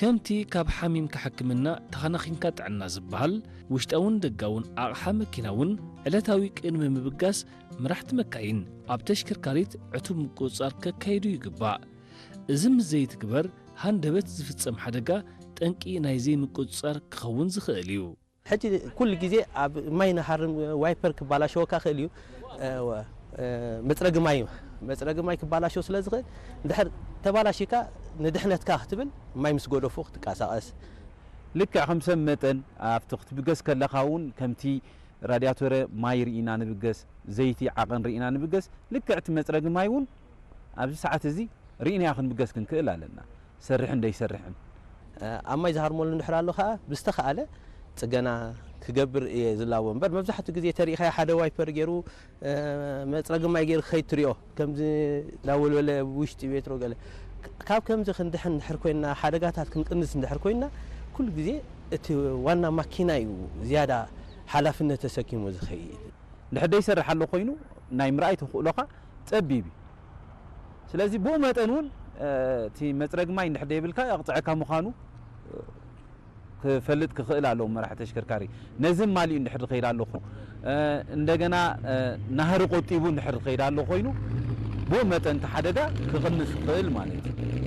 ከምቲ ካብ ሓሚምካ ሕክምና፣ ተኸናኺንካ ጥዕና ዝበሃል፣ ውሽጣውን ደጋውን ኣቕሓ መኪና እውን ዕለታዊ ቅድሚ ምብጋስ፣ መራሕቲ መካይን ኣብ ተሽከርካሪት ዕቱብ ምቁጽጻር ከካይዱ ይግባእ። እዚ ምስ ዘይትግበር፣ ሃንደበት ዝፍጸም ሓደጋ ጠንቂ ናይ ዘይምቁጽጻር ክኸውን ዝኽእል እዩ። ሕጂ ኩሉ ግዜ ኣብ ማይ ንሃርም ዋይፐር ክባላሸወካ ክእል እዩ። መፅረጊ ማይ፣ መፅረጊ ማይ ክባላሸው ስለ ዝኽእል፣ እንድሕር ተባላሺካ ንድሕነትካ ክትብል ማይ ምስ ገደፉ ክትንቀሳቐስ። ልክዕ ከም ሰብ መጠን ኣብቲ ክትብገስ ከለኻ እውን ከምቲ ራድያቶረ ማይ ርኢና ንብገስ፣ ዘይቲ ዓቐን ርኢና ንብገስ፣ ልክዕ እቲ መፅረጊ ማይ እውን ኣብዚ ሰዓት እዚ ርኢናዮ ክንብገስ ክንክእል ኣለና፣ ሰርሕን ደይሰርሕን። ኣብ ማይ ዝሃርመሉ እንድሕር ኣሎ ከዓ ብዝተኻእለ ፅገና ክገብር እየ ዝላቦ እምበር፣ መብዛሕትኡ ግዜ ተሪኢኻዮ ሓደ ዋይፐር ገይሩ መፅረጊ ማይ ገይሩ ክኸይድ ትሪኦ፣ ከምዚ እንዳወልወለ ውሽጢ ቤትሮ ገለ። ካብ ከምዚ ክንድሕን እንድሕር ኮይንና፣ ሓደጋታት ክንቅንስ እንድሕር ኮይንና፣ ኩሉ ግዜ እቲ ዋና ማኪና እዩ ዝያዳ ሓላፍነት ተሰኪሙ ዝኸይድ። እንድሕር ደይሰርሕ ኣሎ ኮይኑ ናይ ምርኣይ ተኽእሎኻ ፀቢብ እዩ። ስለዚ ብኡ መጠን እውን እቲ መፅረጊ ማይ እንድሕር ደይብልካ የቕፅዐካ ምዃኑ ክፈልጥ ክኽእል ኣለዎ መራሒ ተሽከርካሪ። ነዚ ማሊኡ እንድሕር ዝኸይድ ኣሎ ኮይኑ፣ እንደገና ናህሪ ቆጢቡ እንድሕር ዝኸይድ ኣሎ ኮይኑ፣ ብኡ መጠን እቲ ሓደጋ ክቕንስ ይኽእል ማለት እዩ።